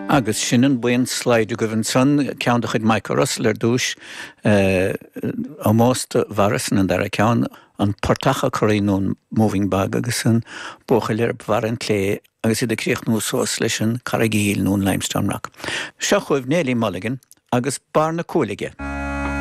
Agus sin an buíon slide agaibh ansan, ceann de chuid Michael Russell ar dtúis, ómós do Mhorrison an dara ceann, an portach ag corraí nó an moving bog agus an buachaill ar bharr an chlé agus iad ag críochnú suas leis an Carraig Aoil nó an Limestone Rock. Seo chugaibh Neilí Mulligan agus Barr na Cuailgne.